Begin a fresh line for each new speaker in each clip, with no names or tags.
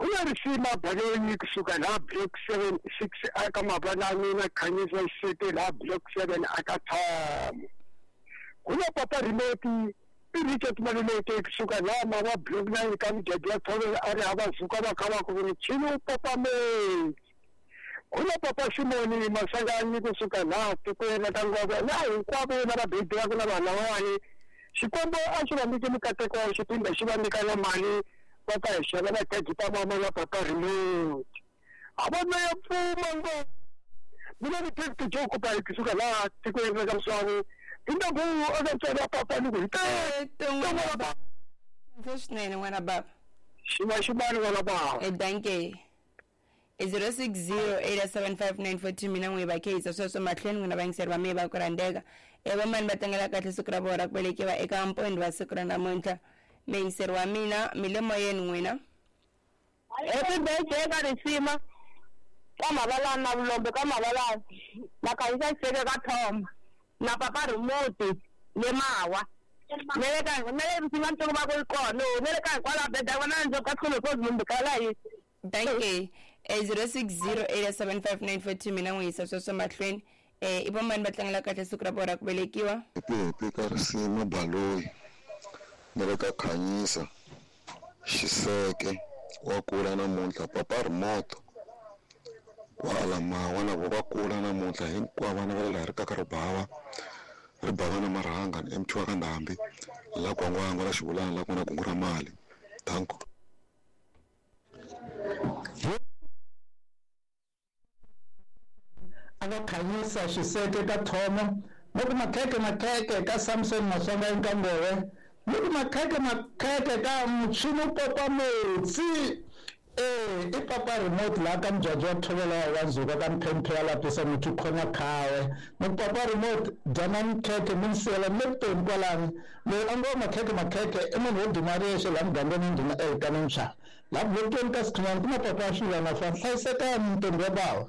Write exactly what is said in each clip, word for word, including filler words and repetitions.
Ku na Risima Baloyi kusuka laha block seven six aka Mabalani na Khanyisa Xiseke laha block seven aka Thomo. Ku na Papa Remote i Richard Maluleke kusuka laha Mawa block nine ka Mujadi ya Thovela a ri hava zuka va kha va ku michini wu papameli. Ku na Papa Simoni Masanganyi kusuka laha tikweni ra Ngove na hinkwavo lava bebulaka na vanhu lavawani. Xikwembu a xi va nyike mikateko xi phinda xi va nyika na mali va ta hi xavela khekhe ta mama na Papa Remote. A va na ya pfuma ngo. Mina ni Tito Joe Kupa kusuka laha tikweni ra ka Mswani. Indaku eka ntswalo wa papa ni ku hi
n'wana baba. Swinene n'wana baba.
Xima ximani n'wana baba.
E danke. E zero six zero eight seven five nine four two mina n'wi va khehisa sweswo mahlweni n'wina vayingiseri va mehe va ku rhandzeka. E vamani va tlangela kahle siku ra vona ra ku velekiwa eka mpondho wa siku ra namuntlha. Muyingiseri wa mina mi le moyeni n'wina.
Happy birthday ka Risima ka Mabalani na Vulombe ka Mabalani na Khanyisa Xiseke ka Thoma na Papa Remote le Mawa. Ne le ka ne le Risima ntsongo va ku yi kona ne le ka hinkwalo beda vona ndzi ka tlhelo ko munhu kala yi.
Danke. E zero six zero eight seven five nine four two mina n'wi yisa sweswo mahlweni. Eh i vamani va tlangela kahle siku ra vona ra ku velekiwa.
Happy happy ka Risima Baloyi na le ka Khanyisa Xiseke wa kula namuntlha. Papa Remote kwala Mawa na vo va kula namuntlha hinkwavo vana va le laha ri kaka ribava ribava na marhanga ni M T wa ka Ndhambi la Gwangwangwa la Xivulana la ku nga na kungu ra mali. Danko.
A va Khanyisa Xiseke ka Thomo ni ku makheke makheke ka Samson Masonga Nkangove ni ku makheke makheke ka Muchini Popa Metsi. Eh i Papa Remote laha ka Mujadi wa Thovela wa Nzuka ka Mphemphe ya lapisa muthu khonya khawe. Ni ku Papa Remote dyanani khekhe mi ni siyela mi le vutomi kwalani. Loyi a ngo makheke makheke i munhu wo duma riyexe laha mugangeni ndhuna Elkana Mshana. Laha bulokweni ka Sikhinyana ku na Papa Xilwana fa hlayisekani ntombi ya bava.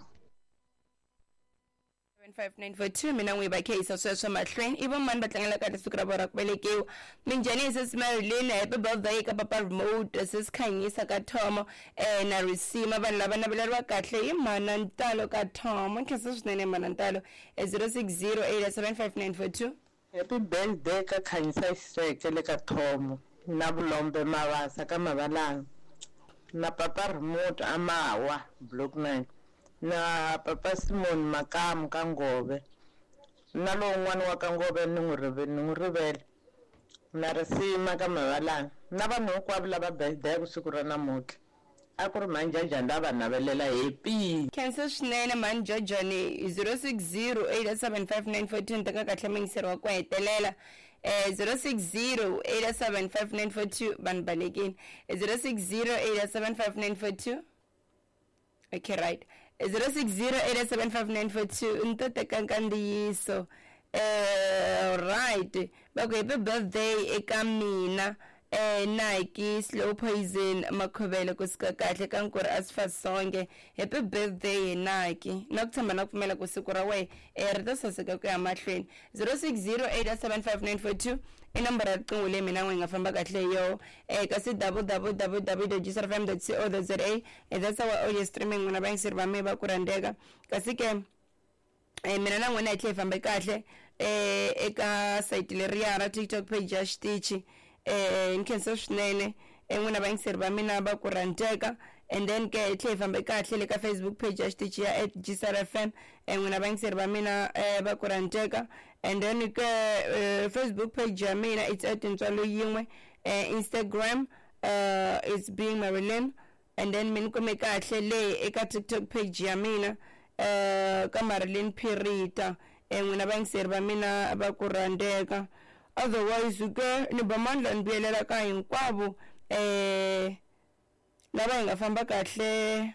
Five nine four two mina n'wi va khehisa sweswo mahlweni. I vamani va tlangela kahle siku ra vona ra ku velekiwa. Minjhani sis Marilyn, happy birthday ka Papa Remote, sis Khanyisa ka Thomo eh na Risima. Vanhu lava naveleriwa kahle hi Mhana Ntalo ka Thomo. Nkhensa swinene Mhana Ntalo. Zero six zero eight seven five nine four two.
Happy birthday ka Khanyisa Xiseke le ka Thomo na Vulombe Mavasa ka Mabalani na Papa Remote a Mawa block nine na Papa Simon Makamu ka Ngove na lowun'wana wa ka Ngove ni n'wi rivele ni n'wi rivele na Risima ka Mabalani na vanhu hinkwavo lava birthday siku ra namuntlha. A ku ri Manjajani lava navelela happy.
Khensa swinene Manjajani. Zero six zero eight seven five nine four two ni teka kahle muyingiseri wa ku hetelela. Eh zero six zero eight seven five nine four two vanhu balekini. Zero six zero eight seven five nine four two. Okay, right. Zero six zero eight seven five nine four two ni to teka nkandziyiso. Eh right. Va ku happy birthday eka mina eh Nike Slow Poison Makhovele kusuka kahle ka Nkuri Asifasonge. Happy birthday Nike. Na ku tshemba na ku pfumela ku siku ra wena eh ri ta saseka ku ya mahlweni. Zero six zero eight seven five nine four two i nomboro ya riqingho leyi mina n'wi nga famba kahle hi yona eh kasi w w w dot g s r f m dot co dot z a. That's our audio streaming n'wina vayingiseri va mehe va ku rhandzeka. Kasi ke eh mina na n'wina hi tlhe hi fambe kahle eh eka site leriya ra TikTok page ya xitichi. Eh nkhensa swinene n'wina vayingiseri va mina va ku rhandzeka. And then ke hi tlhe hi fambe kahle le ka Facebook page ya xitichi ya at G S R F M n'wina vayingiseri va mina va ku rhandzeka. And then ke Facebook page ya mina it's at Ntswalo Yin'we. Instagram uh it's being Marilyn. And then mi ni kume kahle le eka TikTok page ya mina uh ka Marilyn Pirita n'wina vayingiseri va mina va ku rhandzeka. Otherwise ke ni ba mandla ni vuyelela ka hinkwavo eh lava hi nga famba kahle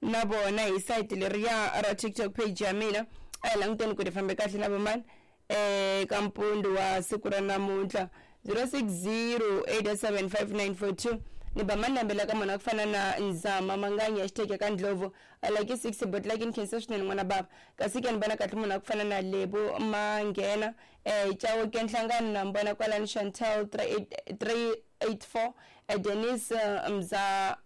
na vona hi site leriya ra TikTok page ya mina. A hi languteni ku ri fambe kahle na vomani eh ka mpundu wa siku ra namuntlha. Zero six zero eight seven five nine four two ni ba manambela ka munhu a ku fana na Nzama Manganyi hashtag ka Ndlovu I like six but like in khensa swinene n'wana baba. Kasi ke ni vona kahle munhu a ku fana na Lebo Manghena eh Chauke Nhlangano na mbona kwalani Chantel three eight three eight four Denise Mza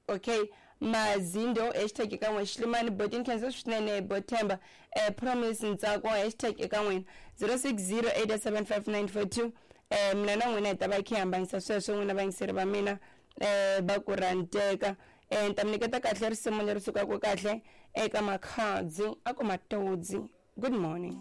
Okay, Mazindo hashtag eka n'we Xilimani Botin khensa swinene Bothemba eh, Promise Ntsako hashtag eka n'wina zero six zero eight seven five nine four two. Eh, mina na n'wina hi ta va khe hambanyisa sweswo n'wina vayingiseri va mina eh, va ku ranteka. Eh, ni ta mi nyiketa kahle risimu leri sukaka kahle eka Makhadzi a ku Matodzi. Good morning.